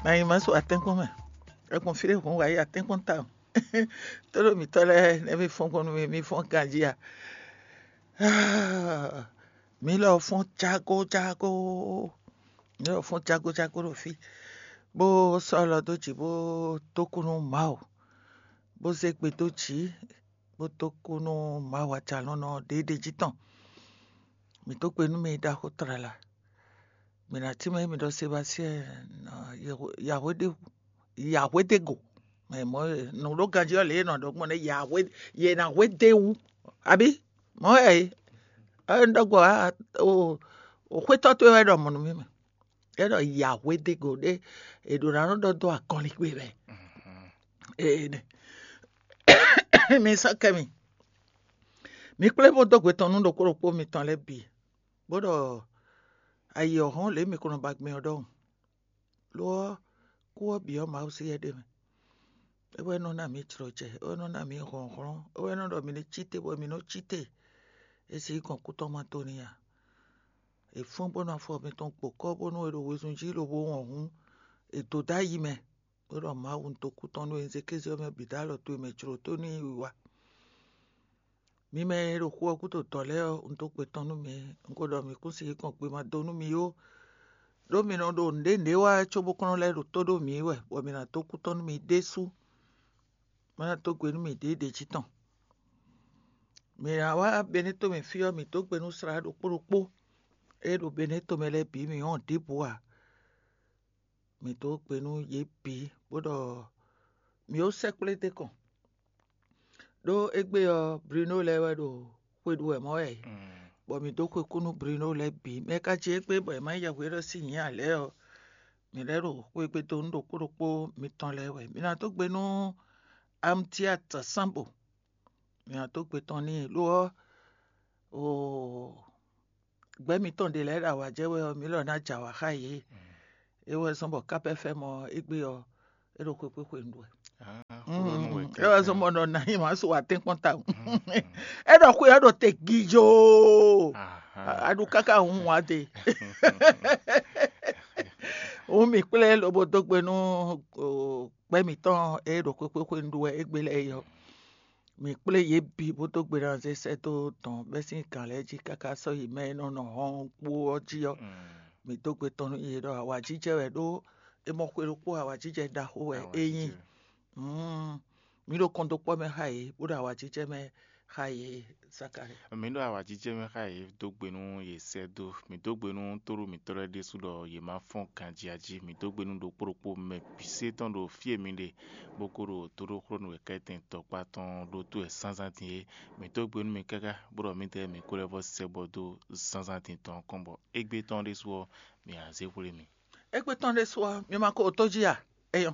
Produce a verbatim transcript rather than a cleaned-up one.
Mɛ nyi ma su atɛ́nkpɔ́n mɛ. È gbɔn fí ɖé hǔn wǎ yi atɛ́nkpɔ́n tawun. Tóɖó mǐtɔn lɛ́ɛ nɛ́ mì fɔ́n gbɔn nú mì, mì fɔ́n ganjí a? Mǐ lɔ fɔ́n jágó jágó. Mǐ lɔ fɔ́n jágó jágó ɖo fí, bó sɔ́ alɔ dó jǐ, bó dó kú nú Mawu, bó zé gbe dó jǐ, bó dó kú nú Mawu Ajalɔ̌nlɔn ɖěɖě jí tɔn. Mǐ dó gbe nú mɛ e ɖaxó tlala. Mǐ ná tínmɛ émí ɖɔ Sebastiɛn Yahwedego. Mɛ mɔ nǔ ɖó ganjí ɔ́ lě e nɔ ɖɔ gbɔn nɛ́ Yahwe yě ná hwedéwu. Abí mɔ̌ wɛ é? Ɔ́, un ɖɔ gbɔ o xwétɔ́ towe wɛ ɖɔ mɔ̌ nú mì mɛ. É ɖɔ Yahwedego ɖé è ɖǒ ná nɔ ɖɔ dó akɔlingbe mɛ. Ee nɛ. Mi sɔ́ kɛ mi. Mi kplé bó dó gbe tɔn nú ɖokpó ɖokpó mitɔn lɛ́ɛ bǐ, bó ɖɔ ayǐ ɔ́ hɔ́n lě mi ko nɔ ba gbɛn ɔ́ ɖɔhun. Lo ɔ́, kú ɔ́ bǐ ɔ́ Mawu sí wɛ ɖ'é mɛ. É wɛ nɔ ná mǐ jlɔjɛ, é wɛ nɔ ná mǐ hlɔ̌nhlɔ́n, é wɛ nɔ ɖɔ mǐ ní cí te bɔ mǐ nɔ cí te. É sí gɔn kú tɔn ma dó n'i ǎ. È fɔ́n bónú afɔ mitɔn gbo kɔ́ bónú è ɖo wezun jí lobo wɔn hǔn, è dǒ dó ayi mɛ, bó ɖɔ Mawu un dó kú tɔn nú we, un zé kéze ɔ́ mɛ bǐ dó alɔ towe mɛ jlǒ tó n'i yi wá. Mi mɛ e ɖo xu ɔ́ gúdo dɔ̌ lɛ́ɛ ɔ́, un dó gbe tɔn nú mi. Un ko ɖɔ mǐ kún sixú kɔn gbe ma dó nú mi ó, ɖó mi nɔ ɖo nǔɖé nǔɖé wa cóbó kɔn nɔ lɛ́ ɖo tó ɖó mǐ wɛ, bɔ mi ná dó kú tɔn nú mi ɖésú. Má ná dó gbe nú mi ɖěɖě jí tɔn. Mǐ ná wá Beneto mɛ fí ɔ́, mǐ dó gbe nú slá ɖokpó ɖokpó e ɖo Beneto mɛ lɛ́ɛ bǐ, mǐ wɔn ɖěbǔ ǎ. Mǐ dó gbe nú yě bǐ, bó ɖɔ mǐ ó sɛkplé d'é kɔn. Ɖó égbé ɔ́, Bruno lɛ́ɛ wɛ ɖo xwe ɖu wɛ mɔ̌ wɛ, bɔ mǐ dó xwe kú nú Bruno lɛ́ɛ bǐ. Mɛ ka jí égbé bɔ è má yi yɛhweɖɔ sín nyǐ ǎ lɛ́ɛ ɔ́, mǐ lɛ́ ɖo xwe gbe dó nú ɖokpó ɖokpó mitɔn lɛ́ɛ wɛ. Mǐ ná dó gbe nú Amtiat Sambo, mǐ ná dó gbe tɔn n'i, lo ɔ́, oo, gbɛ́ mitɔn ɖě lɛ́ɛ ɖo awǎ jɛ wɛ ɔ́, mǐ lɔ ná jɛ awǎ xá yě. É wɛ zɔ́n bɔ kápɛ́ fɛ́ mɔ égbé ɔ́, é ɖo xwé xwé xwe nǔ wɛ. É wɛ zɔ́n bɔ nɔ ná nyí mǎ su atɛ́nkpɔ́n tawun. É ɖɔ xwe ɔ́ ɖo te gijoo. Aɖu káká hun wǎ te. Hǔn mǐ kplé lobo dó gbe nú gbɛ́ mǐtɔn e ɖo xwé xwé xwe nǔ ɖu wɛ égbé lɛ́ɛ é ɔ́. Mǐ kplé yě bǐ bó dó gbe ná zé sɛ́ dó dɔ̌n bɛ́ sín gǎn lɛ́ɛ jí káká sɔ́ yi mɛ e nɔ nɔ hɔn kpó ɔ́ jí ɔ́. Mǐ dó gbe tɔn nú yě ɖɔ awǎjijɛ wɛ ɖó è mɔ xwe ɖokpó awǎjijɛ ɖaxó wɛ é nyí. Mǐ ɖo kɔndókpɔ́ mɛ xá yě, bó ɖo awǎjijɛ mɛ xá yě. Sakalɛ. Mǐ ɖo awǎjijɛ mɛ xá yě dó gbe nú yě sɛ́ dó. Mǐ dó gbe nú tóɖó mǐtɔn lɛ́ɛ ɖésú ɖɔ yě má fɔ́n ganjí jí. Mǐ dó gbe nú ɖokpó ɖokpó mɛ bǐ sé tɔn ɖo fí e mi ɖe, bó ko ɖo tóɖóxlónú wěkɛ́tɛn tɔkpá tɔn ɖó tó wɛ zǎnzǎn din é. Mǐ dó gbe nú mi káká, bó ɖɔ mǐdɛɛ mǐ ko lɛ́ vɔ́ sɛ́ bɔ dó zǎnzǎn din tɔn kɔn bɔ égbé tɔn ɖésú ɔ́, mǐ ná zé xwlé mi. Égbé tɔn ɖésú ɔ́, mi ma ko tó jí a? É nyɔ́.